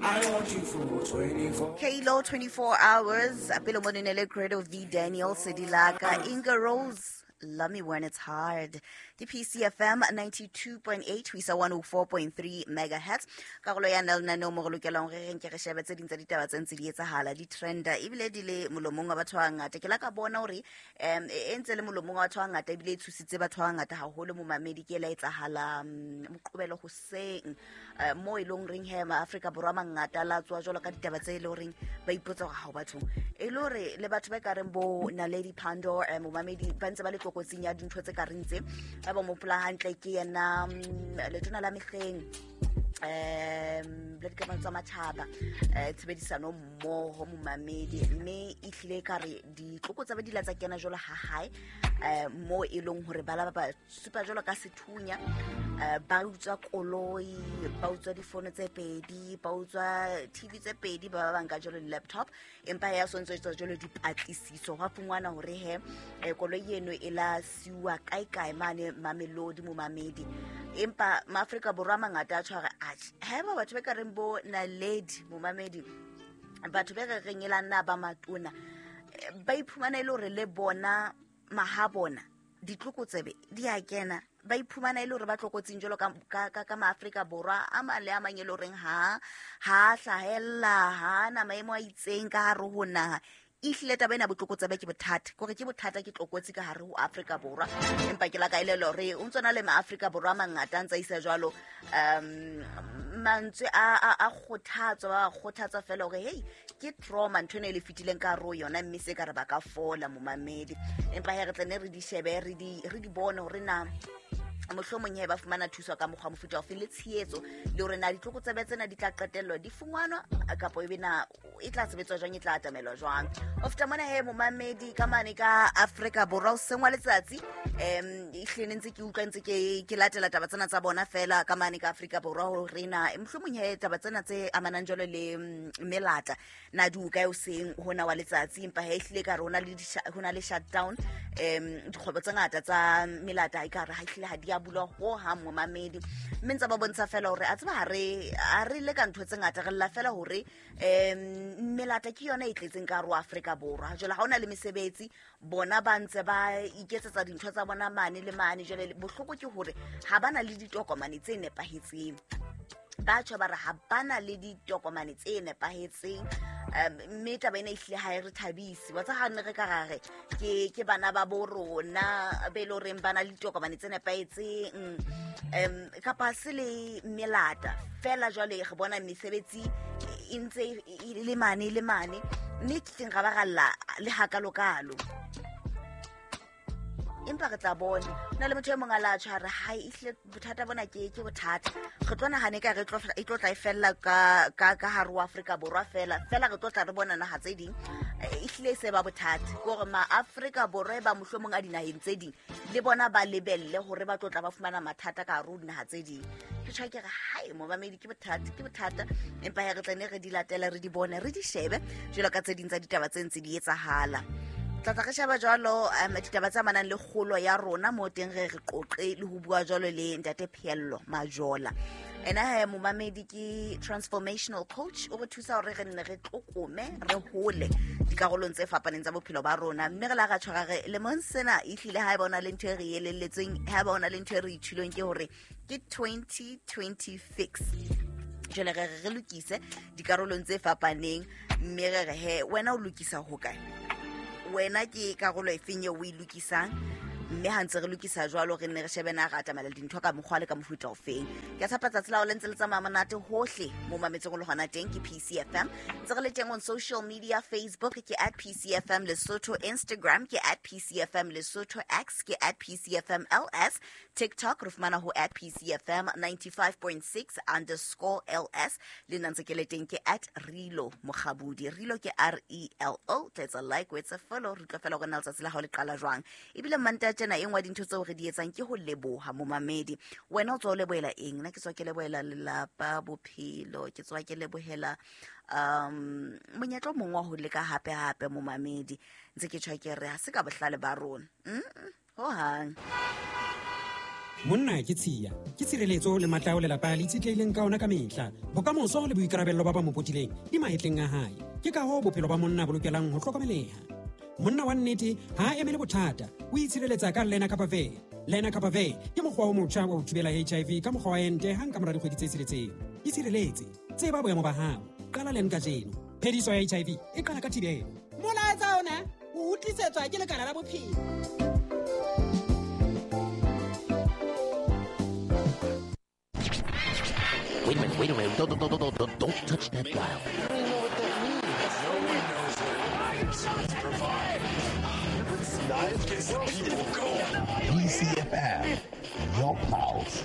I want you for 24. Kalo 24 hours pele mo ne le Credo V Daniel Sedilaka Inga Rose Love Me When It's Hard. Ke PCFM 92.8 ho isa 104.3 megahertz. Karolo ya na lenaneo mo re lokelang hore re nke re shebe tse ding tsa ditaba tse ntse di etsahala, di trenda ebile di le molomong wa batho ba bangata. Ke la ka bona hore e ntse le molomong wa batho ba bangata ebile e tshositse batho ba bangata haholo momamedi ke e la etsahala Moqobelo hoseng mo e leng reng he Maafrika Borwa a mangata la tswa jwalo ka ditaba tse e leng horeng ba ipotsa hore ha o bathong e le hore le batho ba ka reng bo Naledi Pandor momamedi ba ntse ba le tlokotsing ya dintho tse ka reng tse ba ba mo pola hantle ke yena letona la mehleng le dikamano tsa matjhaba tshebedisano mmoho momamedi mme e hlile ka re ditlokotsa ba dila tsa kena jwalo ha hae mo e leng hore ba la ba supa jwalo ka sethunya ba utswa koloi, ba utswa difono tse pedi, ba utswa TV tse pedi, ba ba banka jwalo di-laptop empa ya so ntso etswa jwalo dipatlisiso hwa fungwana hore he koloi eno e la siuwa kae kae mane Mamelodi momamedi empa Maafrika Borwa a mangata a tshware atjhe haeba batho ba ka reng bo Naledi momamedi batho be re reng e la nna ba matona ba iphumana e le hore le bona mahabona ditlokotsebe di a kena ba iphumana e le hore ba tlokotsing jwalo ka Maafrika Borwa a mang le a mang e le horeng ha hlahella ha na maemo a itseng ka hare ho naha. Ehlile taba ena botlokotsebe ke bothata kore ke bothata ke tlokotsi ka hare ho Afrika Borwa empa ke la ka elellwa hore o ntso na le Maafrika Borwa a mangata a ntsa isa jwalo mantswe a kgothatso ba kgothatsa fela hore hey ke trauma ntho ena e le fetileng ka hare ho yona mme se ka re ba ka fola momamedi empa he re tle ne re di shebe re di bone hore na mohlomong he ba fumana thuso ka mokgwa mofuta ofe le tshehetso le hore na ditlokotsebe tsena di tla qetellwa di fungwanwa kapa ebe na e tla sebetswa jwang e tla atamelwa jwang. Ho feta mona he momamedi ka mane ka Afrika Borwa o sengwa letsatsi ehlile ne ntse ke utlwa ntse ke latela taba tsena tsa bona fela ka mane ka Afrika Borwa hore na mohlomong he taba tsena tse amanang jwalo le melata na di o kae o seng hona wa letsatsi empa he ehlile ka re hona le hona le shutdown dikgwebo tse ngata tsa melata e ka re ha ehlile ha di a bulwa ho hang momamedi mme ntse ba bontsha fela hore a tseba ha re le ka ntho tse ngata re lla fela hore melata ke yona e tletseng ka hare ho Afrika Borwa jwale ha hona le mesebetsi bona ba ntse ba iketsetsa dintho tsa bona mane le mane jwale bohloko ke hore ha bana le ditokomane tse nepahetseng ba tjho ba re ha bana le ditokomane tse nepahetseng mme taba ena ehlile ha e re thabise wa tsa ha ne re ka ra re ke bana ba bo rona be le horeng ba na le ditokomane tse nepahetseng kapa se le melata fela jwale re bona mesebetsi e ntse e le mane le mane mme ke teng ra ba ralla le hakalokalo empa re tla bona na le motho e mong a la tjho re hai ehlile bothata bona ke bothata re tlo nahana ka re e tlo tla e fella ka hare ho Afrika Borwa fela fela re tlo tla re bona naha tse ding ehlile e se ba bothata ke hore ma Afrika Borwa e ba mohlomong a dinaheng tse ding le bona ba lebelle hore ba tlo tla ba fumana mathata ka hare ho dinaha tse ding ke tjho ke re hai momamedi ke bothata empa he re tla ne re di latele re di bone re di shebe jwalo ka tse ding tsa ditaba tse ntse di etsahala. Tla tla re sheba jwalo ditaba tse amanang le kgolo ya rona mo teng re re qoqe le ho bua jwalo le Ntate Pheello Majola. Ena he momamedi ke transformational coach o re thusa hore re nne re tlokome re hole dikarolong tse fapaneng tsa bophelo ba rona mme re la ra tshwara re lemong sena ehlile ha eba ona le ntho e re elelletsweng ha eba ona le ntho e re ithulong ke hore ke 2026 jwale re re lokise dikarolong tse fapaneng mme re re he wena o lokisa ho kae wena ke karolo efeng eo o e lokisang mme ha ntse re lokisa jwalo re nne re shebe na re atamela dintho ka mokgwa le ka mofuta ofeng. Ke a tshepa tsatsi la hao le ntse le tsamaya monate hohle mo mametseng o le hona teng ke PCFM ntse re le teng on social media Facebook ke at PCFM Lesotho Instagram ke at PCFM Lesotho X ke at PCFM LS TikTok re fumana ho at PCFM 95.6 underscore LS le nna ntse ke le teng ke at Relo Mokgabudi Relo ke R E L O tla etsa like o etsa follow re utlwa fela hore na letsatsi la hao le qala jwang ebile Manta tjena e nngwe ya dintho tseo re di etsang ke ho leboha momamedi wena o tswa o lebohela eng nna ke tswa ke lebohela lelapa bophelo ke tswa ke lebohela monyetla o mongwe wa ho leka hape hape momamedi ntse ke tjho ke re ha se ka bohlale ba rona ho hang. Monna ke tshiya, ke tshireletso le matla ao lelapa le itshetlehileng ka ona ka mehla. Bokamoso le boikarabello ba ba mo potileng di mahetleng a hae. Ke ka hoo bophelo ba monna bo lokelang ho hlokomeleha. Monna wa nnete ha a emele bothata, o itshireletsa ka Lenacapavir. Lenacapavir ke mokgwa o motjha wa ho thibela HIV ka mokgwa wa ente hang ka mora dikgwedi tse tsheletseng. Itshireletse, tseba boemo ba hao. Qala len kajeno. Phediso ya HIV e qala ka thibelo. Molaetsa ona o utlisetswa ke Lekala la Bophelo. Wait a minute, wait a minute. Don't touch that dial. BCFM, your pulse.